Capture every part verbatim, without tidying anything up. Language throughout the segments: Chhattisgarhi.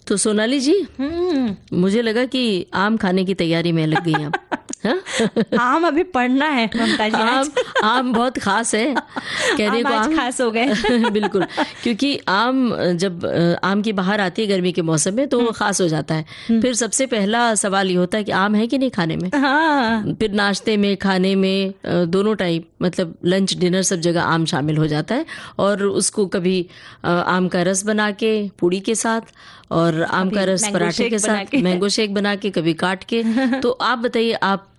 तो सोनाली जी, हम्म। मुझे लगा कि आम खाने की तैयारी में लग गई आप। हाँ? आम अभी पड़ना है, ममता जी, आज। आम, आम बहुत खास है। कहने आम को आज आम खास हो गए। बिल्कुल, क्योंकि आम, जब, अ, आम की बहार आती है गर्मी के मौसम में, तो वो हम्म। खास हो जाता है। हम्म। फिर सबसे पहला सवाल ये होता है कि आम है कि नहीं खाने में। हाँ। फिर नाश्ते में, खाने में, अ, दोनों टाइम, मतलब लंच, डिनर, सब जगह आम शामिल हो जाता है। और उसको कभी, अ, आम का रस बना के पूड़ी के साथ, और आम का कभी रस मैंगो पराठे शेक के बना साथ, के। मैंगो शेक बना के, कभी काट के। तो आप बताइए, आप, अ,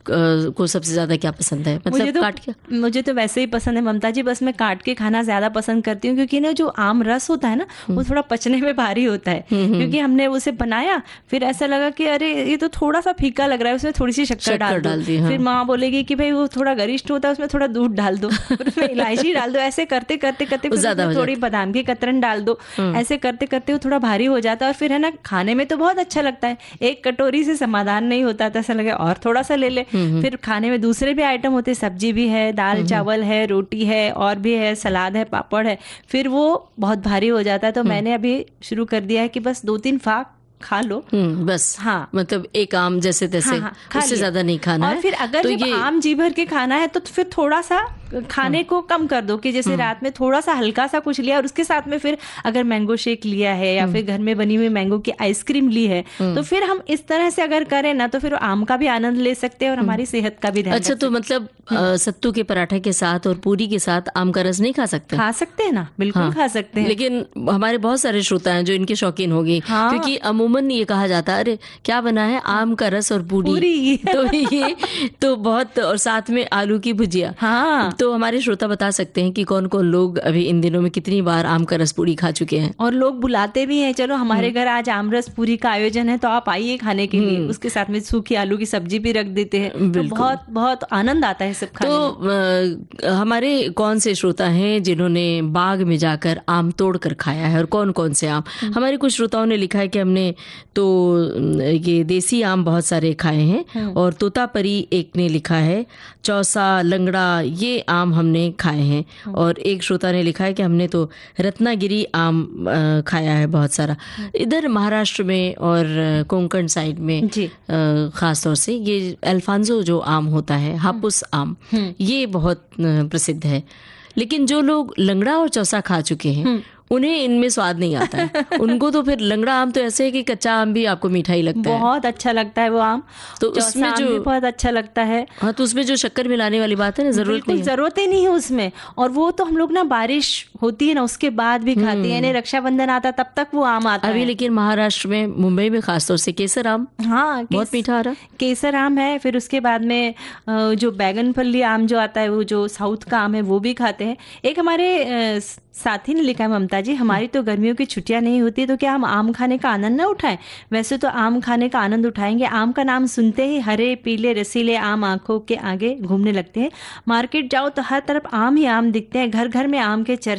को सबसे ज्यादा क्या पसंद है, मतलब मुझे तो, काट के? मुझे तो वैसे ही पसंद है, ममता जी, बस मैं काट के खाना ज्यादा पसंद करती हूँ, क्योंकि ना, जो आम रस होता है ना, वो हम्म। थोड़ा पचने में भारी होता है, हम्म, हम्म। क्योंकि हमने उसे बनाया, फिर ऐसा लगा कि अरे, ये तो थोड़ा सा फीका लग रहा है, उसमें थोड़ी सी शक्कर शक्कर डाल दो। डाल दी, हाँ। फिर माँ बोलेगी कि भाई, वो थोड़ा गरिष्ठ होता है, उसमें थोड़ा दूध डाल दो, फिर उसमें इलायची डाल दो। ऐसे करते करते करते वो फिर ज्यादा उसमें हो थोड़ी जाता है। बादाम की कतरन डाल दो। हम्म। ऐसे करते करते वो थोड़ा भारी हो जाता है, और फिर है ना, खाने में तो बहुत अच्छा लगता है, एक कटोरी से समाधान नहीं होता, तो ऐसा लगे और थोड़ा सा ले ले। हम्म, हम्म। फिर खाने में दूसरे भी आइटम होते हैं, सब्जी भी है, दाल हम्म, हम्म। चावल है, रोटी है, और भी है, सलाद है, पापड़ है, फिर वो बहुत भारी हो जाता है। तो हम्म। मैंने अभी शुरू कर दिया है कि बस दो तीन फाक खा लो। हम्म, बस। हाँ। मतलब एक आम जैसे तैसे, हाँ, हाँ, खा उससे लिया। ज्यादा नहीं खाना और है। फिर अगर तो जब ये आम जी भर के खाना है, तो फिर थोड़ा सा खाने हम्म। को कम कर दो, कि जैसे हम्म। रात में थोड़ा सा हल्का सा कुछ लिया और उसके साथ में फिर अगर मैंगो शेक लिया है या हम्म। फिर घर में बनी हुई मैंगो की आइसक्रीम ली है, हम्म। तो फिर हम इस तरह से अगर करें ना, तो फिर आम का भी आनंद ले सकते हैं और हम्म। हमारी सेहत का भी ध्यान अच्छा, रख तो सकते हैं। मतलब, हम्म। अ, सत्तू के पराठे के साथ और पूरी के साथ आम का रस नहीं खा सकते? खा सकते हैं ना, बिल्कुल हाँ। खा सकते हैं। लेकिन हमारे बहुत सारे श्रोता हैं जो इनके शौकीन हो गए, हाँ। क्योंकि अमूमन ये कहा जाता है, "अरे, क्या बना है? आम का रस और पूरी।" पूरी। तो ये तो बहुत, और साथ में आलू की भुजिया। हाँ। तो हमारे श्रोता बता सकते हैं कि कौन-कौन लोग अभी इन दिनों में कितनी बार आम का रस पूरी खा चुके हैं। और लोग बुलाते भी हैं, "चलो, हमारे हम्म। घर आज आम रस पूरी का आयोजन है, तो आप आइए खाने के लिए।" हम्म। उसके साथ में सूखी आलू की सब्जी भी रख देते हैं। तो बिल्कुल। बहुत, बहुत आनंद आता है सब खाने तो, में। अ, हमारे कौन से श्रोता हैं जिन्होंने बाग में जाकर आम तोड़ कर खाया है, और कौन-कौन से आम? हम्म। हमारे कुछ श्रोताओं ने लिखा है कि हमने तो, अम, ये देसी आम बहुत सारे खाए हैं, हम्म। और तोतापरी एक ने लिखा है, चौसा, लंगड़ा, ये आम हमने खाए हैं। हम्म। और एक श्रोता ने लिखा है कि हमने तो रत्नागिरी आम, अ, खाया है बहुत सारा। हम्म। इधर महाराष्ट्र में और, अ, कोंकण साइड में, जी। अ, खास तौर से ये अल्फांजो जो आम होता है, हापुस आम, हम्म। ये बहुत, अ, प्रसिद्ध है। लेकिन जो लोग लंगड़ा और चौसा खा चुके हैं, हम्म। उन्हें इनमें स्वाद नहीं आता है। उनको तो फिर लंगड़ा आम तो ऐसे है कि कच्चा आम भी आपको मीठा ही लगता है। बहुत अच्छा लगता है वो आम। तो चौसा उसमें आम जो भी बहुत अच्छा लगता है। हाँ, तो उसमें जो शक्कर मिलाने वाली बात है ना, जरूरत बिल्कुल नहीं है। जरूरत ही नहीं है उसमें। और वो तो हम लोग ना, बारिश होती है ना, उसके बाद भी खाते हैं, हम्म। यानी रक्षाबंधन आता, तब तक वो आम आता अभी है। लेकिन महाराष्ट्र में, मुंबई में खासतौर से केसर आम हाँ, बहुत केस-, मीठा आ रहा। केसर आम है, फिर उसके बाद में, अ, जो बैगन फली आम जो आता है, वो जो साउथ का आम है, वो भी खाते हैं। एक हमारे, अ, स-, साथी ने लिखा है, "ममता जी, हमारी तो गर्मियों की छुट्टियां नहीं होती, तो क्या हम आम खाने का आनंद ना उठाएं? वैसे तो आम खाने का आनंद उठाएंगे। आम का नाम सुनते ही हरे, पीले, रसीले आम आंखों के आगे घूमने लगते हैं। मार्केट जाओ तो हर तरफ आम ही आम दिखते हैं, घर घर में आम के चर्चे।"